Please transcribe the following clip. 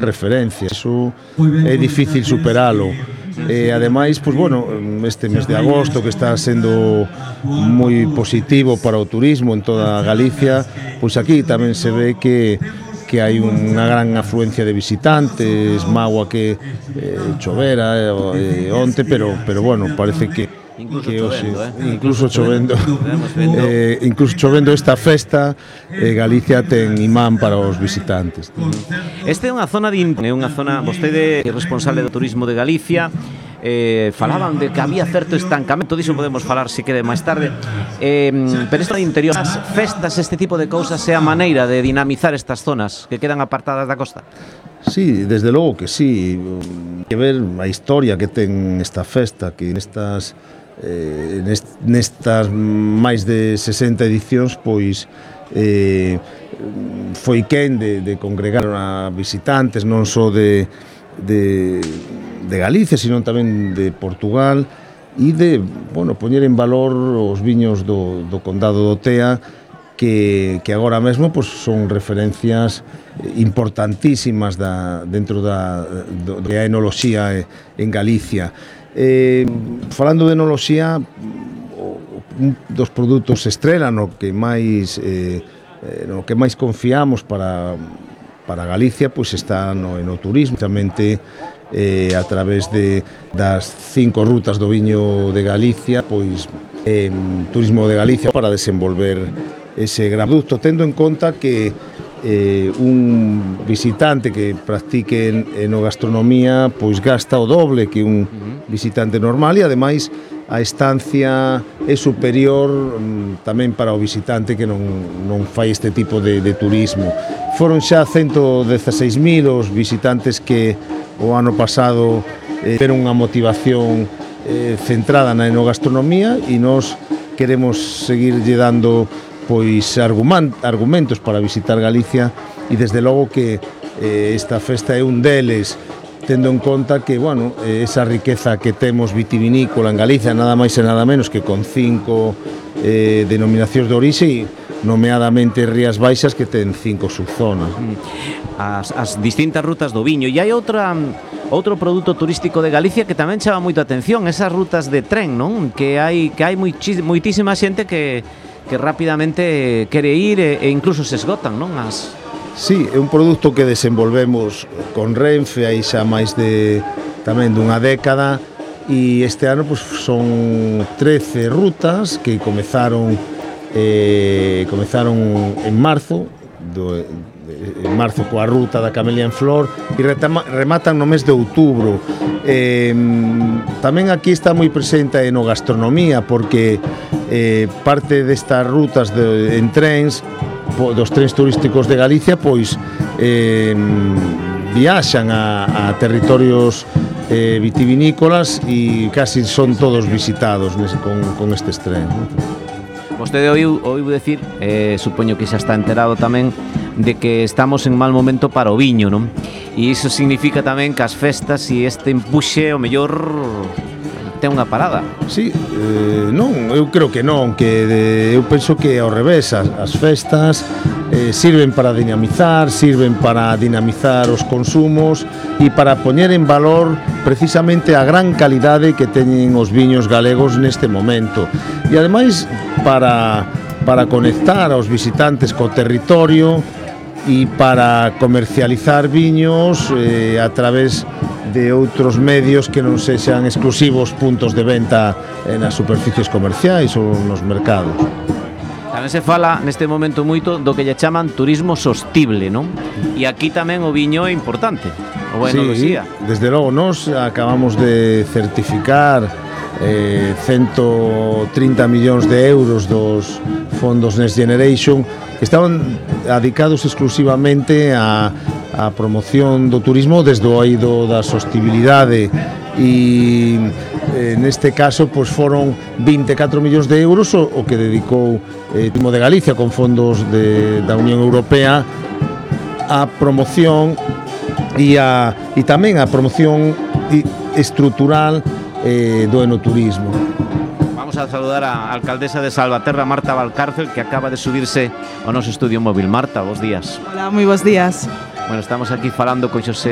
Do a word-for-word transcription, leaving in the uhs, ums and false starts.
referencia, eso é difícil superalo. E ademais, pois bueno, este mes de agosto que está sendo moi positivo para o turismo en toda Galicia, pois aquí tamén se ve que que hai unha gran afluencia de visitantes, magua que eh, chovera eh, onte, pero pero bueno, parece que Incluso que chovendo, hoxe, eh? incluso chovendo, eh, eh, incluso chovendo esta festa, eh, Galicia ten imán para os visitantes. Esta é unha zona de é unha zona, vostede é responsable do turismo de Galicia. Eh, falaban de que había certo estancamento, diso podemos falar se quede máis tarde, eh, pero isto de interior, as festas, este tipo de cousas é a maneira de dinamizar estas zonas que quedan apartadas da costa. Sí, desde logo que sí, que ver a historia que ten esta festa, que nestas eh, nestas máis de sesenta edicións, pois eh, foi quen de, de congregar a visitantes non só de, de, de Galicia, sino tamén de Portugal, e de, bueno, poñer en valor os viños do, do Condado do Tea, que, que agora mesmo pois, son referencias importantísimas da, dentro da, do, da enoloxía en Galicia. Eh, falando de enoloxía, un dos produtos estrela no que máis eh, no que máis confiamos para, para Galicia, pois está no enoturismo, justamente eh, a través de, das cinco rutas do viño de Galicia, pois eh, Turismo de Galicia para desenvolver ese gran produto, tendo en conta que eh, un visitante que practique enogastronomía pois gasta o doble que un visitante normal, e ademais a estancia é superior mm, tamén para o visitante que non, non fai este tipo de, de turismo. Foron xa ciento dieciséis mil os visitantes que o ano pasado eh, tiveron unha motivación eh, centrada na enogastronomía, e nós queremos seguirlle dando pois argumentos para visitar Galicia, e desde logo que eh, esta festa é un deles, tendo en conta que, bueno, esa riqueza que temos vitivinícola en Galicia, nada máis e nada menos que con cinco eh, denominacións de orixe, nomeadamente Rías Baixas, que ten cinco subzonas. As, as distintas rutas do viño. E hai outra outro produto turístico de Galicia que tamén chama moito a atención, esas rutas de tren, non? Que hai que hai moitísima xente que que rapidamente quere ir e, e incluso se esgotan, non? As... Sí, é un produto que desenvolvemos con Renfe aí xa máis de tamén dunha década, e este ano pues, son trece rutas que comezaron eh, comezaron en marzo do, en marzo coa ruta da Camelia en Flor e retama, rematan no mes de outubro. Eh, tamén aquí está moi presente a enogastronomía, porque eh, parte destas rutas de, en trens, po, dos trens turísticos de Galicia, pois eh, viaxan a, a territorios eh, vitivinícolas, e casi son todos visitados nese, con, con estes trens, ¿no? Vostede oiu, oiu decir, eh, supoño que xa está enterado tamén, de que estamos en mal momento para o viño, non? E iso significa tamén que as festas e este empuxe, o mellor, ten unha parada. Sí, eh, non, eu creo que non, que de, eu penso que ao revés, as, as festas eh, sirven para dinamizar, sirven para dinamizar os consumos e para poñer en valor precisamente a gran calidade que teñen os viños galegos neste momento. E ademais para, para conectar aos visitantes co territorio e para comercializar viños eh, a través de outros medios que non sexan exclusivos puntos de venta nas superficies comerciais ou nos mercados. Tamén se fala neste momento moito do que lle chaman turismo sostible, non? E aquí tamén o viño é importante, o enoloxía. Sí, desde logo, nós acabamos de certificar eh, ciento trinta millóns de euros dos fondos Next Generation, que estaban dedicados exclusivamente a, a promoción do turismo desde o eido da sostibilidade, e eh, neste caso pois, foron vinte e catro millóns de euros o, o que dedicou eh, Turismo de Galicia con fondos de, da Unión Europea a promoción e, a, e tamén a promoción estrutural eh, do enoturismo. Vamos a saludar a alcaldesa de Salvaterra, Marta Valcárcel, que acaba de subirse ao noso estudio móvil. Marta, bos días. Hola, moi bons días. Bueno, estamos aquí falando con Xosé